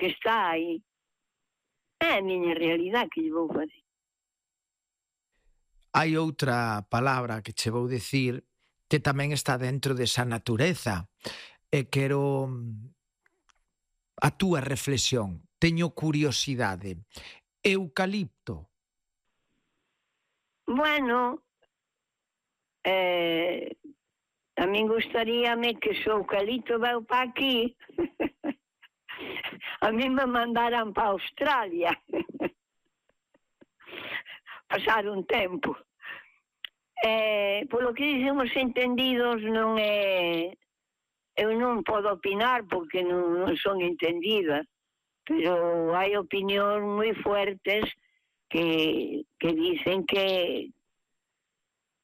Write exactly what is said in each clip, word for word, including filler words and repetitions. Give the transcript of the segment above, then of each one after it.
que está aí. É a miña realidade que lle vou fazer. Hai outra palabra que che vou dicir que tamén está dentro desa natureza e quero a túa reflexión. Teño curiosidade. Eucalipto. Bueno, eh, a min gustaríame que se o eucalipto veu para aquí. A min me mandaran para Australia. Pasar un tempo. Eh, polo que dicen os entendidos non é... Eu non podo opinar porque non, non son entendida, pero hai opinións moi fuertes que, que dicen que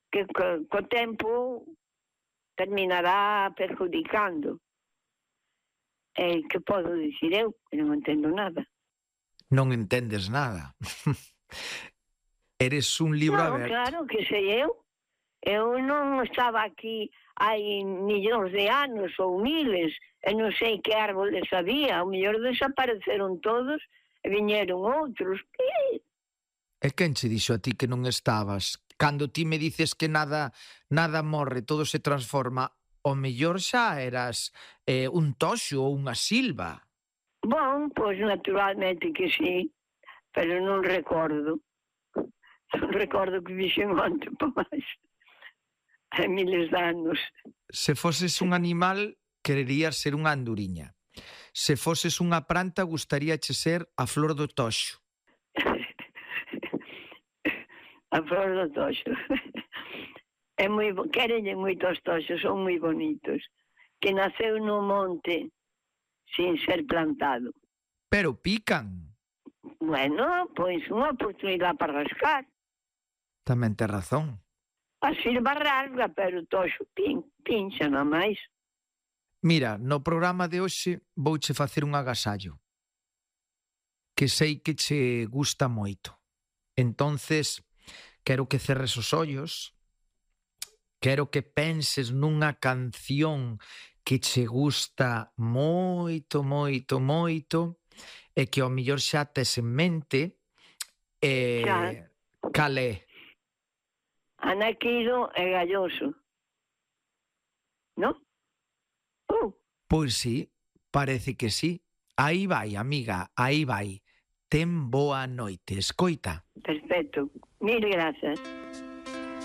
que co, co tempo terminará perjudicando. Eh, que podo dicir eu? Non entendo nada. Non entendes nada. Eres un libro no, aberto. Claro que sei eu. Eu non estaba aquí hai millóns de anos ou miles, e non sei que árboles había, ao mellor desapareceron todos e viñeron outros. Que... E quen che dixo a ti que non estabas? Cando ti me dices que nada nada morre, todo se transforma, ao mellor xa eras eh, un toxo ou unha silva. Bon, pois naturalmente que sí, pero non recordo. Non recordo que dixen onte, por máis. Hai miles de anos. Se foses un animal, quererías ser unha anduriña. Se foses unha planta, gustaríache ser a flor do toxo. A flor do toxo. É moi bo... Querenlle moitos toxos, son moi bonitos. Que naceu no monte sin ser plantado. Pero pican. Bueno, pois unha oportunidade para rascar. Tamén tes razón. A silva rasga, pero o toxo pin, pincha, non máis. Mira, no programa de hoxe vouche facer un agasallo que sei que che gusta moito. Entonces, quero que cerres os ollos, quero que penses nunha canción que che gusta moito, moito, moito e que ao mellor xa tes en mente e Xa. cal é? Anaquido e Galloso. Non? Uh. Pois sí, parece que sí. Aí vai, amiga, aí vai. Ten boa noite, escoita. Perfecto. Mil grazas.